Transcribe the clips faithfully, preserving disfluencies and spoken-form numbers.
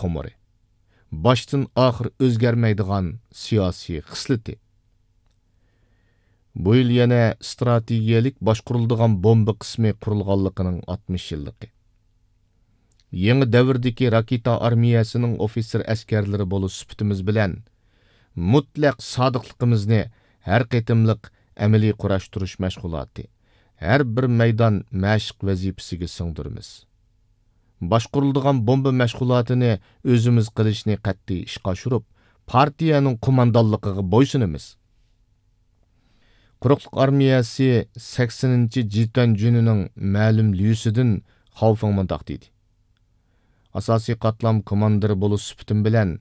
نومۇرى، باشتىن ئاخىر ئۆزگەرمەيدىغان سىياسىي خىسلىتى. بۇ يىل يەنە ئىستراتېگىيەلىك باشقۇرۇلىدىغان بومبا قىسمى قۇرۇلغانلىقىنىڭ ئاتمىش يىللىقى. يېڭى دەۋردىكى راكېتا ئارمىيەسىنىڭ ئوفىتسېر ئەسكەرلىرى بولۇش سۈپىتىمىز بىلەن، مۇتلەق سادىقلىقىمىزنى ھەر قېتىملىق ئەمەلىي قۇراشتۇرۇش مەشغۇلاتى، ھەر بىر مەيدان مەشىق ۋەزىپىسىگە سىڭدۈرىمىز. باشقۇرۇلىدىغان بومبا مەشغۇلاتىنى ئۆزىمىز قىلىشنى قەتئىي ئىشقا ئاشۇرۇپ، پارتىيەنىڭ قوماندانلىقىغا بويسۇنىمىز. قۇرۇقلۇق ئارمىيەسى سەكسىنىنچى جىتەن جۈنىنىڭ مەلۇم ليۇسىدىن خاۋفېڭ مۇنداق دېدى: ئاساسىي قاتلام كوماندىرى بولۇش سۈپىتىم بىلەن،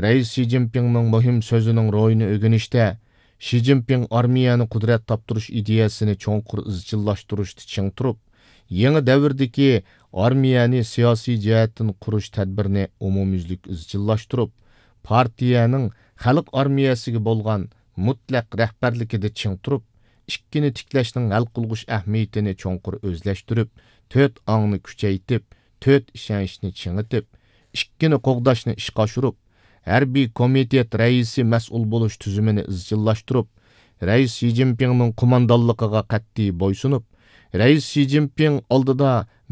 رەئىس شى جىنپىڭنىڭ مۇھىم سۆزىنىڭ روھىنى ئۆگىنىشتە، شى جىنپىڭ ئارمىيەنى قۇدرەت تاپتۇرۇش ئىدىيەسىنى چوڭقۇر ئىزچىللاشتۇرۇشتا چىڭ تۇرۇپ، يېڭى دەۋردىكى ئارمىيەنى سىياسىي جەھەتتىن قۇرۇش تەدبىرىنى ئومۇميۈزلۈك ئىزچىللاشتۇرۇپ، پارتىيەنىڭ خەلق ئارمىيەسىگە بولغان مۇتلەق رەھبەرلىكىدە چىڭ تۇرۇپ، ئىككىنى تىكلەشنىڭ ھەل قىلغۇچ ئەھمىيىتىنى چوڭقۇر ئۆزلەشتۈرۈپ، تۆت ئاڭنى كۈچەيتىپ، تۆت ئىشەنچنى چىڭىتىپ، ئىككىنى قوغداشنى ئىشقا ئاشۇرۇپ، ھەربىي كومىتېت رەئىسى مەسئۇل بولۇش تۈزۈمىنى ئىزچىللاشتۇرۇپ، رەئىس شى جىنپىڭنىڭ قوماندانلىقىغا قەتئىي بويسۇنۇپ، رەئىس شى جىنپىڭ ئالدىدا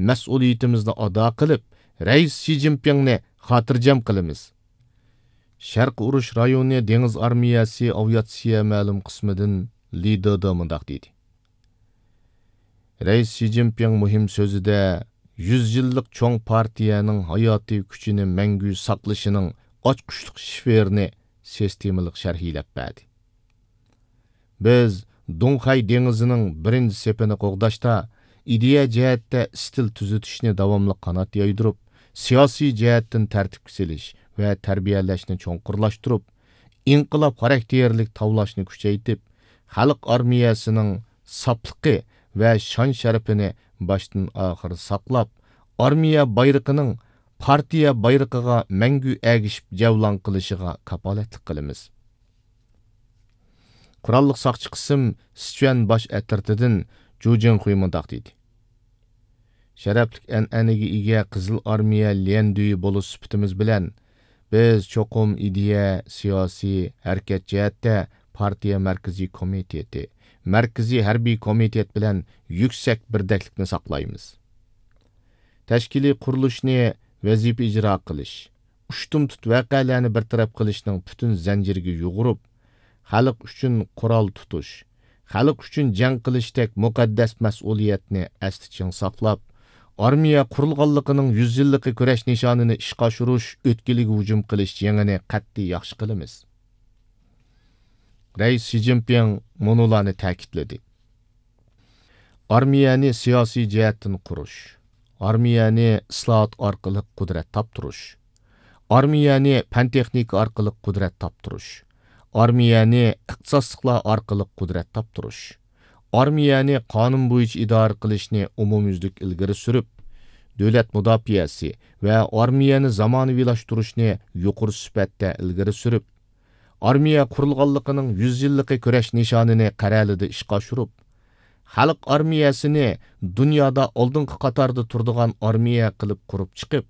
مەسئۇلىيىتىمىزنى ئادا قىلىپ، رەئىس شى جىنپىڭنى خاتىرجەم قىلىمىز. شەرقىي ئۇرۇش رايونى دېڭىز ئارمىيەسى ئاۋىئاتسىيە مەلۇم قىسمىدىن لى دېدې مۇنداق دېدى: رەئىس شى جىنپىڭ مۇھىم سۆزىدە يۈز يىللىق چوڭ پارتىيەنىڭ ھاياتىي كۈچىنى مەڭگۈ ساقلىشىنىڭ ئاچقۇچلۇق شىفېرىنى سىستېمىلىق شەرھلەپ بەردى. بىز دۇڭخەي دېڭىزىنىڭ بىرىنچى سېپىنى قوغداشتا، ئىدىيە جەھەتتە ئىستىل تۈزىتىشنى داۋاملىق قانات يايدۇرۇپ، سىياسىي جەھەتتىن تەرتىپكە سېلىش ۋە تەربىيەلەشنى چوڭقۇرلاشتۇرۇپ، ئىنقىلاب خاراكتېرلىك تاۋلاشنى كۈچەيتىپ، خەلق ئارمىيەسىنىڭ ساپلىقى ۋە شان-شەرىپىنى باشتىن-ئاخىر ساقلاپ، ئارمىيە بايرىقىنىڭ پارتىيە بايرىقىغا مەڭگۈ ئەگىشىپ جەۋلان قىلىشىغا كاپالەتلىك قىلىمىز. قوراللىق ساقچى قىسىم سىچۈەن باش ئەترىتىدىن جۇ جىڭخۇي مۇنداق دېدى: شەرەپلىك ئەنئەنىگە ئىگە قىزىل ئارمىيە ليەندۈيى بولۇش سۈپىتىمىز بىلەن، بىز چوقۇم ئىدىيە، سىياسىي، ھەرىكەت جەھەتتە پارتىيە مەركىزىي كومىتېتى، مەركىزىي ھەربىي كومىتېت بىلەن يۈكسەك بىردەكلىكنى ساقلايمىز. تەشكىلىي قۇرۇلۇشنى ۋەزىپە ئىجرا قىلىش، ئۇشتۇمتۇت ۋەقەلەرنى بىر تەرەپ قىلىشنىڭ پۈتۈن زەنجىرىگە يۇغۇرۇپ، خەلق ئۈچۈن قورال تۇتۇش، خەلق ئۈچۈن جەڭ قىلىشتەك مۇقەددەس مەسئۇلىيەتنى ئەستە چىڭ ساقلاپ، ئارمىيە قۇرۇلغانلىقىنىڭ يۈز يىللىقى كۈرەش نىشانىنى ئىشقا ئاشۇرۇش، ئۆتكىلىگە ھۇجۇم قىلىش جېڭىنى قەتئىي ياخشى قىلىمىز. رەئىس شى جىنپىڭ مۇنۇلارنى تەكىتلىدى: ئارمىيەنى سىياسىي جەھەتتىن قۇرۇش، ئارمىيەنى ئىسلاھات ئارقىلىق قۇدرەت تاپتۇرۇش، ئارمىيەنى پەن-تېخنىكا ئارقىلىق قۇدرەت تاپتۇرۇش، ئارمىيەنى ئىختىساسلىقلار ئارقىلىق قۇدرەت تاپتۇرۇش، ئارمىيەنى قانۇن بويىچە ئىدارە قىلىشنى ئومۇميۈزلۈك ئىلگىرى سۈرۈپ، دۆلەت مۇداپىئەسى ۋە ئارمىيەنى زامانىۋىلاشتۇرۇشنى يۇقىرى سۈپەتتە ئىلگىرى سۈرۈپ، ئارمىيە قۇرۇلغانلىقىنىڭ يۈز يىللىقى كۈرەش نىشانىنى قەرەلىدە ئىشقا ئاشۇرۇپ، خەلق ئارمىيەسىنى دۇنيادا ئالدىنقى قاتاردا تۇرىدىغان ئارمىيە قىلىپ قۇرۇپ چىقىپ،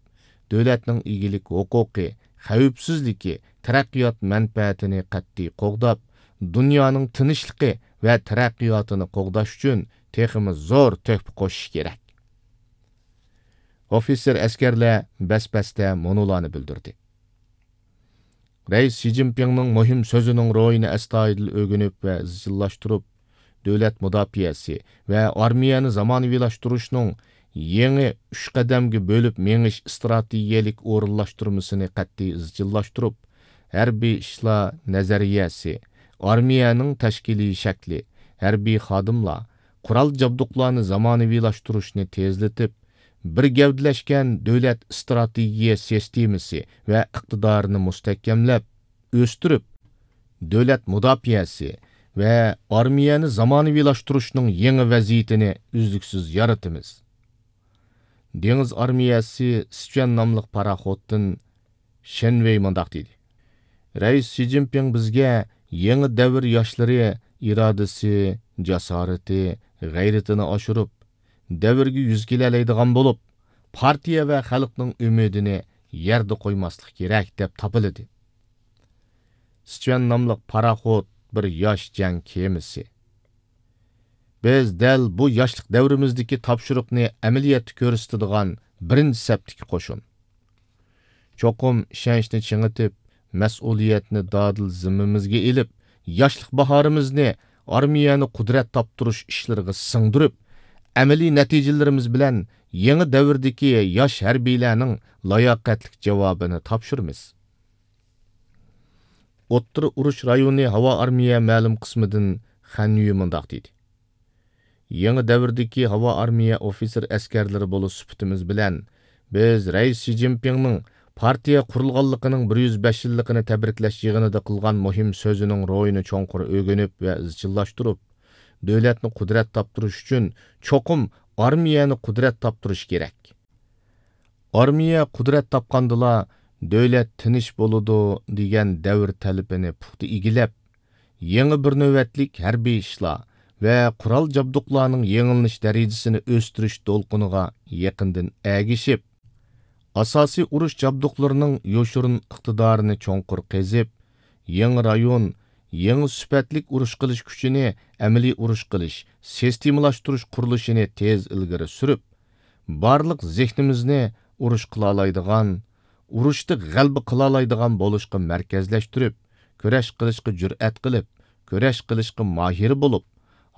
دۆلەتنىڭ ئىگىلىك ھوقۇقى، خەۋپسىزلىكى، تەرەققىيات مەنپەئەتىنى قەتئىي قوغداپ، دۇنيانىڭ تىنچلىقى ۋە تەرەققىياتىنى قوغداش ئۈچۈن تېخىمۇ زور تۆھپە قوشۇش كېرەك. ئوفىتسېر ئەسكەرلەر بەس-بەستە مۇنۇلارنى بىلدۈردى: رەئىس شى جىنپىڭنىڭ مۇھىم سۆزىنىڭ روھىنى ئەستايىدىل ئۆگىنىپ ۋە ئىزچىللاشتۇرۇپ، دۆلەت مۇداپىئەسى ۋە ئارمىيەنى زامانىۋىلاشتۇرۇشنىڭ يېڭى ئۈچ قەدەمگە بۆلۈپ مېڭىش ئىستراتېگىيەلىك ئورۇنلاشتۇرمىسىنى قەتئىي ئىزچىللاشتۇرۇپ، ھەربىي ئىشلار نەزەرىيەسى، ئارمىيەنىڭ تەشكىلىي شەكلى، ھەربىي خادىملار، قورال جابدۇقلارنى زامانىۋىلاشتۇرۇشنى تېزلىتىپ، بىر گەۋدىلەشكەن دۆلەت ئىستراتېگىيە سىستېمىسى ۋە ئىقتىدارىنى مۇستەھكەملەپ، ئۆستۈرۈپ، دۆلەت مۇداپىئەسى ۋە ئارمىيەنى زامانىۋىلاشتۇرۇشنىڭ يېڭى ۋەزىيىتىنى ئۈزلۈكسىز يارىتىمىز. دېڭىز ئارمىيەسى سىچۈەن ناملىق پاراخوتتىن شېن ۋېي مۇنداق دېدى: رەئىس شى جىنپىڭ بىزگە يېڭى دەۋر ياشلىرى ئىرادىسى، جاسارىتى، غەيرىتىنى ئاشۇرۇپ، دەۋرگە يۈز كېلەلەيدىغان بولۇپ، پارتىيە ۋە خەلقنىڭ ئۈمىدىنى يەردە قويماسلىق كېرەك، دەپ تاپىلىدى. سىچۈەن ناملىق پاراخوت بىر ياش جەڭ كېمىسى. بىز دەل بۇ ياشلىق دەۋرىمىزدىكى تاپشۇرۇقنى ئەمەلىيەتتە كۆرسىتىدىغان بىرىنچى سەپتىكى قوشۇن. چوقۇم ئىشەنچنى چىڭىتىپ، مەسئۇلىيەتنى دادىل زىممىمىزگە ئېلىپ، ياشلىق باھارىمىزنى ئارمىيەنى قۇدرەت تاپتۇرۇش ئىشلىرىغا سىڭدۈرۈپ، ئەمەلىي نەتىجىلىرىمىز بىلەن يېڭى دەۋردىكى ياش ھەربىيلەرنىڭ لاياقەتلىك جاۋابىنى تاپشۇرىمىز. ئوتتۇرا ئۇرۇش رايونى ھاۋا ئارمىيە مەلۇم قىسمىدىن خەنيۈ مۇنداق دېدى: يېڭى دەۋردىكى ھاۋا ئارمىيە ئوفىتسېر ئەسكەرلىرى بولۇش سۈپىتىمىز بىلەن، بىز رەئىس شى جىنپىڭنىڭ پارتىيە قۇرۇلغانلىقىنىڭ بىر يۈز بەش يىللىقىنى تەبرىكلەش يىغىنىدا قىلغان مۇھىم سۆزىنىڭ روھىنى چوڭقۇر ئۆگىنىپ ۋە ئىزچىللاشتۇرۇپ، دۆلەتنى قۇدرەت تاپتۇرۇش ئۈچۈن چوقۇم ئارمىيەنى قۇدرەت تاپتۇرۇش كېرەك. ئارمىيە قۇدرەت تاپقاندىلا، دۆلەت تىنچ بولىدۇ، دېگەن دەۋر تەلىپىنى پۇختا ئىگىلەپ، يېڭى بىر نۆۋەتلىك ھەربىي ئىشلار ۋە قورال جابدۇقلارنىڭ يېڭىلىنىش دەرىجىسىنى ئۆستۈرۈش دولقۇنىغا يېقىندىن ئەگىشىپ، ئاساسىي ئۇرۇش جابدۇقلىرىنىڭ يوشۇرۇن ئىقتىدارىنى چوڭقۇر قېزىپ، يېڭى رايون، يېڭى سۈپەتلىك ئۇرۇش قىلىش كۈچىنى ئەمەلىي ئۇرۇش قىلىش، سىستېمىلاشتۇرۇش قۇرۇلۇشىنى تېز ئىلگىرى سۈرۈپ، بارلىق زېھنىمىزنى ئۇرۇش قىلالايدىغان، ئۇرۇشتا غەلىبە قىلالايدىغان بولۇشقا مەركەزلەشتۈرۈپ، كۈرەش قىلىشقا جۈرئەت قىلىپ، كۈرەش قىلىشقا ماھىر بولۇپ،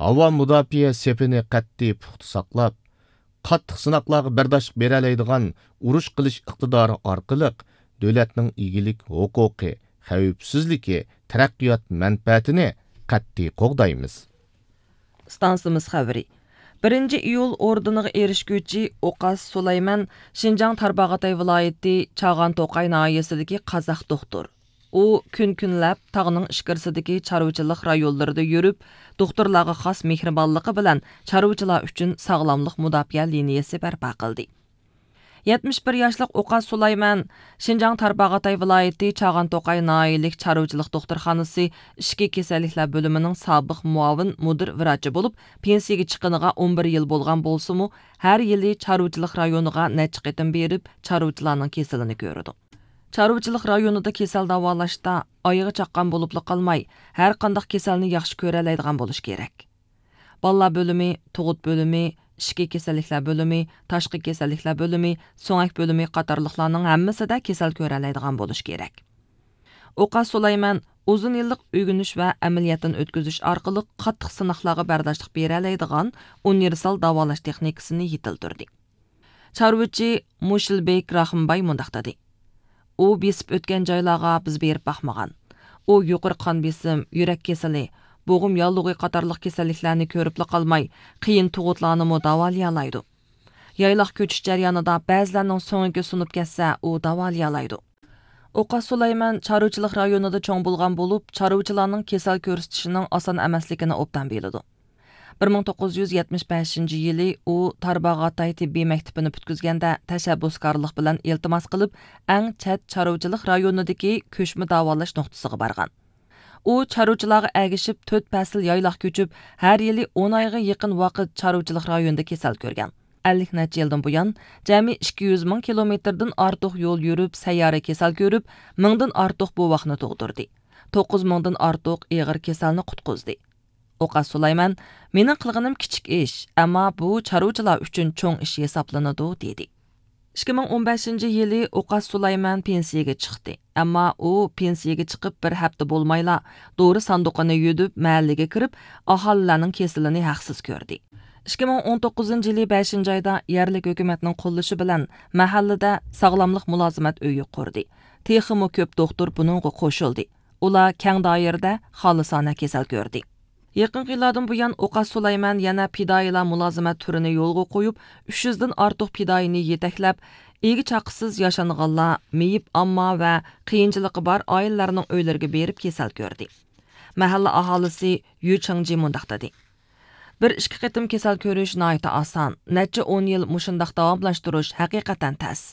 ھاۋا مۇداپىئە سېپىنى قەتئىي پۇختا ساقلاپ، قاتتىق سىناقلارغا بەرداشلىق بېرەلەيدىغان ئۇرۇش قىلىش ئىقتىدارى ئارقىلىق دۆلەتنىڭ ئىگىلىك ھوقۇقى، خەۋپسىزلىكى، تەرەققىيات مەنپەئەتىنى قەتئىي قوغدايمىز. ئىستانسىمىز خەۋىرى. بىرىنچى ئىيۇل ئوردېنىغا ئېرىشكۈچى ئوقاس سۇلايمان شىنجاڭ تارباغاتاي ۋىلايىتى چاغان توقاي ناھىيەسىدىكى قازاق دوختۇر. ئۇ كۈن-كۈنلەپ تاغنىڭ ئىچكىرىسىدىكى چارۋىچىلىق رايونلىرىدا يۈرۈپ، دوختۇرلارغا خاس مېھرىبانلىقى بىلەن چارۋىچىلار ئۈچۈن ساغلاملىق مۇداپىئە لىنىيەسى بەرپا قىلدى. يەتمىش بىر ياشلىق ئوقاس سۇلايمان شىنجاڭ تارباغاتاي ۋىلايىتى چاغان توقاي ناھىيەلىك چارۋىچىلىق دوختۇرخانىسى ئىچكى كېسەللىكلەر بۆلۈمىنىڭ سابىق مۇئاۋىن مۇدىر ۋراچى بولۇپ، پېنسىيىگە چىققىنىغا ئون بىر يىل بولغان بولسىمۇ، ھەر يىلى چارۋىچىلىق رايونىغا نەچچە قېتىم بېرىپ، چارۋىچىلارنىڭ كېسىلىنى كۆرىدۇ. چارۋىچىلىق رايونىدا كېسەل داۋالاشتا ئايىغى چاققان بولۇپلا قالماي، ھەر قانداق كېسەلنى ياخشى كۆرەلەيدىغان بولۇش كېرەك. بالىلار بۆلۈمى، تۇغۇت بۆلۈمى، ئىچكى كېسەللىكلەر بۆلۈمى، تاشقى كېسەللىكلەر بۆلۈمى، سۆڭەك بۆلۈمى قاتارلىقلارنىڭ ھەممىسىدە كېسەل كۆرەلەيدىغان بولۇش كېرەك. ئوقاس سۇلايمان ئۇزۇن يىللىق ئۆگىنىش ۋە ئەمەلىيەتتىن ئۆتكۈزۈش ئارقىلىق قاتتىق سىناقلارغا بەرداشلىق بېرەلەيدىغان ئۇنىۋېرسال داۋالاش تېخنىكىسىنى يېتىلدۈردى. چارۋىچى مۇشىلبېك راخىمباي مۇنداق دېدى: ئۇ بېسىپ ئۆتكەن جايلارغا بىز بېرىپ باقمىغان. ئۇ يۇقىرى قان بېسىم، يۈرەك كېسىلى، بوغۇم ياللۇغى قاتارلىق كېسەللىكلەرنى كۆرۈپلا قالماي، قىيىن تۇغۇتلارنىمۇ داۋالىيالايدۇ. يايلاق كۆچۈش جەريانىدا بەزىلەرنىڭ سۆڭىكى سۇنۇپ كەتسە، ئۇ داۋالىيالايدۇ. ئوقاس سۇلايمان چارۋىچىلىق رايونىدا چوڭ بولغان بولۇپ، چارۋىچىلارنىڭ كېسەل كۆرسىتىشىنىڭ ئاسان ئەمەسلىكىنى ئوبدان بىلىدۇ. بىر مىڭ توققۇز يۈز يەتمىش بەشىنچى يىلى ئۇ تارباغاتاي تېببىي مەكتىپىنى پۈتكۈزگەندە، تەشەببۇسكارلىق بىلەن ئىلتىماس قىلىپ، ئەڭ چەت چارۋىچىلىق رايونىدىكى كۆچمە داۋالاش نۇقتىسىغا بارغان. ئۇ چارۋىچىلارغا ئەگىشىپ، تۆت پەسىل يايلاق كۆچۈپ، ھەر يىلى ئون ئايغا يېقىن ۋاقىت چارۋىچىلىق رايونىدا كېسەل كۆرگەن. ئەللىك نەچچە يىلدىن بۇيان، جەمئىي ئىككى يۈز مىڭ كىلومېتىردىن ئارتۇق يول يۈرۈپ، سەييارە كېسەل كۆرۈپ، مىڭدىن ئارتۇق بوۋاقنى تۇغدۇردى. توققۇز مىڭدىن ئارتۇق ئېغىر كېسەلنى قۇتقۇزدى. ئوقاس سۇلايمان: «مېنىڭ قىلغىنىم كىچىك ئىش، ئەمما بۇ چارۋىچىلار ئۈچۈن چوڭ ئىش ھېسابلىنىدۇ» دېدى. ئىككى مىڭ ئون بەشىنچى يىلى ئوقاس سۇلايمان پېنسىيىگە چىقتى. ئەمما ئۇ پېنسىيىگە چىقىپ بىر ھەپتە بولمايلا، دورا ساندۇقىنى يۈدۈپ، مەھەللىگە كىرىپ، ئاھالىلەرنىڭ كېسىلىنى ھەقسىز كۆردى. ئىككى مىڭ ئون توققۇزىنچى يىلى بەشىنچى ئايدا يەرلىك ھۆكۈمەتنىڭ قوللىشى بىلەن مەھەللىدە ساغلاملىق مۇلازىمەت ئۆيى قۇردى. تېخىمۇ كۆپ دوختۇر بۇنىڭغا قوشۇلدى. ئۇلار كەڭ دائىرىدە خالىسانە كېسەل كۆردى. يېقىنقى يىللاردىن بۇيان، ئوقاس سۇلايمان يەنە پىدائىيلار مۇلازىمەت تۈرىنى يولغا قويۇپ، ئۈچ يۈزدىن ئارتۇق پىدائىينى يېتەكلەپ، ئىگە-چاقىسىز ياشانغانلار، مېيىپ ئامما ۋە قىيىنچىلىقى بار ئائىلىلەرنىڭ ئۆيلىرىگە بېرىپ كېسەل كۆردى. مەھەللە ئاھالىسى يۈ چېڭجى مۇنداق دېدى: «بىر ئىككى قېتىم كېسەل كۆرۈش ناھايىتى ئاسان، نەچچە ئون يىل مۇشۇنداق داۋاملاشتۇرۇش ھەقىقەتەن تەس.»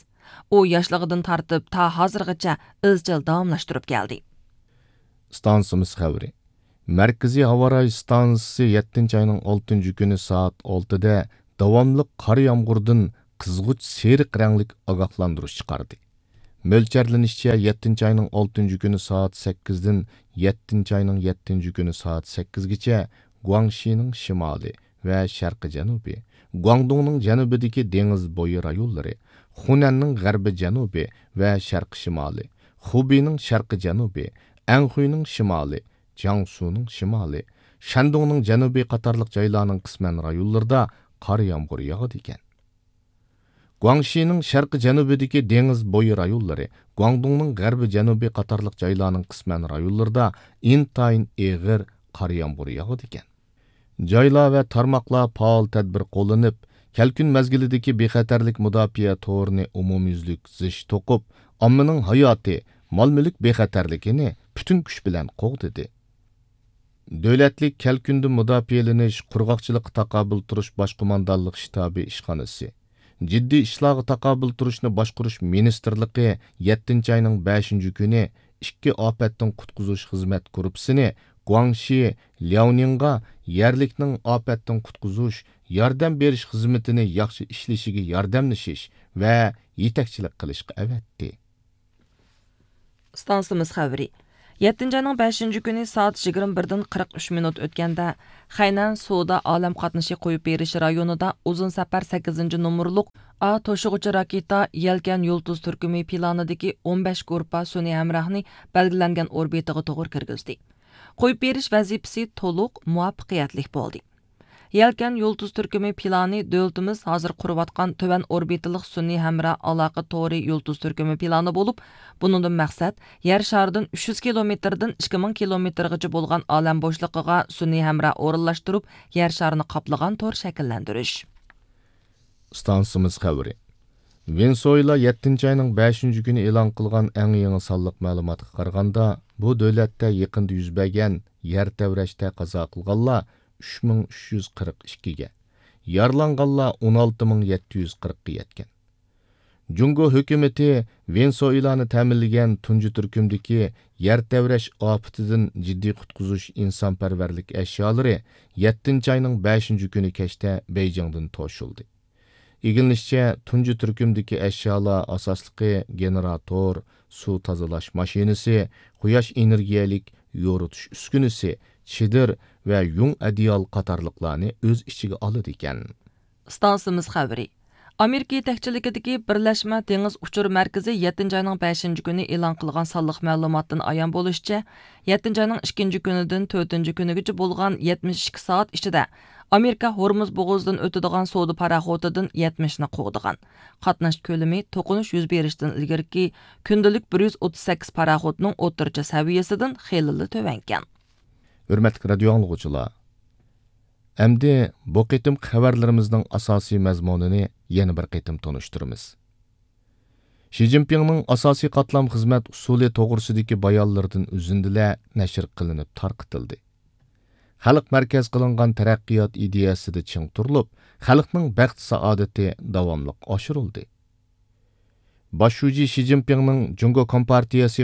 ئۇ ياشلىقىدىن تارتىپ تا ھازىرغىچە ئىزچىل داۋاملاشتۇرۇپ كەلدى. ئىستانسىمىز خەۋىرى. مەركىزىي ھاۋاراي ئىستانسىسى يەتتىنچى ئاينىڭ ئالتىنچى كۈنى سائەت ئالتىدە داۋاملىق قار يامغۇردىن قىزغۇچ سېرىق رەڭلىك ئاگاھلاندۇرۇش چىقاردى. مۆلچەرلىنىشىچە، يەتتىنچى ئاينىڭ ئالتىنچى كۈنى سائەت سەككىزدىن يەتتىنچى ئاينىڭ يەتتىنچى كۈنى سائەت سەككىزگىچە گۇاڭشىنىڭ شىمالى ۋە شەرقىي جەنۇبى، گۇاڭدۇڭنىڭ جەنۇبىدىكى دېڭىز بويى رايونلىرى، خۇنەننىڭ غەربىي جەنۇبى ۋە شەرقىي شىمالى، خۇبېينىڭ شەرقىي جەنۇبى، ئەنخۇينىڭ شىمالى، جياڭسۇنىڭ شىمالى، شەندۇڭنىڭ جەنۇبى قاتارلىق جايلارنىڭ قىسمەن رايونلىرىدا قار يامغۇر ياغىدىكەن. گۇاڭشىنىڭ شەرقىي جەنۇبىدىكى دېڭىز بويى رايونلىرى، گۇاڭدۇڭنىڭ غەربىي جەنۇبى قاتارلىق جايلارنىڭ قىسمەن رايونلىرىدا ئىنتايىن ئېغىر قار يامغۇر ياغىدىكەن. جايلار ۋە تارماقلار پائال تەدبىر قوللىنىپ، كەلكۈن مەزگىلىدىكى بىخەتەرلىك مۇداپىئە تورىنى ئومۇميۈزلۈك زىچ توقۇپ، ئاممىنىڭ ھاياتى، مال-مۈلۈك بىخەتەرلىكىنى پۈتۈن كۈچ بىلەن قوغدىدى. دۆلەتلىك كەلكۈندىن مۇداپىئەلىنىش، قۇرغاقچىلىققا تاقابىل تۇرۇش باش قوماندانلىق شتابى ئىشخانىسى، جىددىي ئىشلارغا تاقابىل تۇرۇشنى باشقۇرۇش مىنىستىرلىقى يەتتىنچى ئاينىڭ بەشىنچى كۈنى ئىككى ئاپەتتىن قۇتقۇزۇش خىزمەت گۇرۇپپىسىنى گۇاڭشى لياۋنىڭغا يەرلىكنىڭ ئاپەتتىن قۇتقۇزۇش، ياردەم بېرىش خىزمىتىنى ياخشى ئىشلىشىگە ياردەملىشىش ۋە يېتەكچىلىك قىلىشقا ئەۋەتتى. ئىستانسىمىز خەۋىرى. يەتتىنچى ئاينىڭ بەشىنچى كۈنى سائەت يىگىرمە بىردىن قىرىق ئۈچ مىنۇت ئۆتكەندە، خەينەن سودا ئالەم قاتنىشى قويۇپ بېرىش رايونىدا ئۇزۇن سەپەر سەككىزىنچى نومۇرلۇق ئا توشۇغۇچى راكېتا يەلكەن يۇلتۇز تۈركۈمى پىلانىدىكى ئون بەش گۇرۇپپا سۈنئىي ھەمراھنى بەلگىلەنگەن ئوربىتىغا توغرا كىرگۈزدى. قويۇپ بېرىش ۋەزىپىسى تولۇق مۇۋەپپەقىيەتلىك بولدى. يەلكەن يۇلتۇز تۈركۈمى پىلانى دۆلىتىمىز ھازىر قۇرۇۋاتقان تۆۋەن ئوربىتىلىق سۈنئىي ھەمراھ ئالاقە تورى يۇلتۇز تۈركۈمى پىلانى بولۇپ، بۇنىڭدىن مەقسەت يەر شارىدىن ئۈچ يۈز كىلومېتىردىن ئىككى مىڭ كىلومېتىرغىچە بولغان ئالەم بوشلۇقىغا سۈنئىي ھەمراھ ئورۇنلاشتۇرۇپ، يەر شارىنى قاپلىغان تور شەكىللەندۈرۈش. ئىستانسىمىز خەۋىرى. ۋېنېسۇېلا يەتتىنچى ئاينىڭ بەشىنچى كۈنى ئېلان قىلغان ئەڭ يېڭى سانلىق مەلۇماتقا قارىغاندا، بۇ دۆلەتتە يېقىندا يۈز بەرگەن يەر تەۋرەشتە قازا قىلغانلار ئۈچ مىڭ ئۈچ يۈز قىرىق ئىككىگە، يارىلانغانلار ئون ئالتە مىڭ يەتتە يۈز قىرىققا يەتكەن. جۇڭگو ھۆكۈمىتى ۋېنېسۇېلانى تەمىنلىگەن تۇنجى تۈركۈمدىكى يەر تەۋرەش ئاپىتىدىن جىددىي قۇتقۇزۇش ئىنسانپەرۋەرلىك ئەشيالىرى يەتتىنچى ئاينىڭ بەشىنچى كۈنى كەچتە بېيجىڭدىن توشۇلدى. ئىگىلىنىشىچە، تۇنجى تۈركۈمدىكى ئەشيالار ئاساسلىقى گېنېراتور، سۇ تازىلاش ماشىنىسى، قۇياش ئېنېرگىيەلىك يورۇتۇش ئۈسكۈنىسى، چېدىر ۋە يۇڭ ئەدىيال قاتارلىقلارنى ئۆز ئىچىگە ئالىدىكەن. ئىستانسىمىز خەۋىرى. ئامېرىكا يېتەكچىلىكىدىكى بىرلەشمە دېڭىز ئۇچۇر مەركىزى يەتتىنچى ئاينىڭ بەشىنچى كۈنى ئېلان قىلغان سانلىق مەلۇماتتىن ئايان بولۇشىچە، يەتتىنچى ئاينىڭ ئىككىنچى كۈنىدىن تۆتىنچى كۈنىگىچە بولغان يەتمىش ئىككى سائەت ئىچىدە ئامېرىكا ھورمۇز بوغۇزىدىن ئۆتىدىغان سودا پاراخوتىدىن يەتمىشنى قوغدىغان. قاتناش كۆلىمى توقۇنۇش يۈز بېرىشتىن ئىلگىرىكى كۈندىلىك بىر يۈز ئوتتۇز سەككىز پاراخوتنىڭ ئوتتۇرىچە سەۋىيەسىدىن خېلىلا تۆۋەنكەن. ھۆرمەتلىك رادىيو ئاڭلىغۇچىلار! ئەمدى بۇ قېتىمقى خەۋەرلىرىمىزنىڭ ئاساسىي مەزمۇنىنى يەنە بىر قېتىم تونۇشتۇرىمىز. شى جىنپىڭنىڭ ئاساسىي قاتلام خىزمەت ئۇسۇلى توغرىسىدىكى بايانلىرىدىن ئۈزۈندىلەر نەشر قىلىنىپ تارقىتىلدى. خەلق مەركەز قىلىنغان تەرەققىيات ئىدىيەسىدە چىڭ تۇرۇلۇپ، خەلقنىڭ بەخت-سائادىتى داۋاملىق ئاشۇرۇلدى. باش شۇجى شى جىنپىڭنىڭ جۇڭگو كومپارتىيەسى